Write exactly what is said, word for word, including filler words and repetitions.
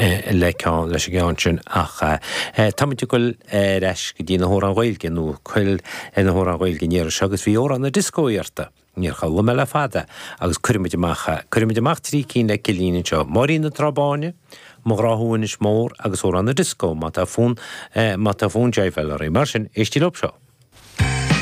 le ceann leis an gceann sin ach táimid ag dul ar ais go dtí na hamhráin Ghaeilge nó cuil ar na hamhráin Ghaeilge an iarraidh seo agus bhí amhrán na disco iarrta. Níor chuala mé le fada agus cuirfimid amach cuirfimid amach trí cinn le Cillín anseo. Máirín na Trá Báine, Mo Ghrá Thú Inis Mór agus amhrán na disco má tá fonn má tá fonn jiveáil oraibh. Mar sin éistigí leo seo.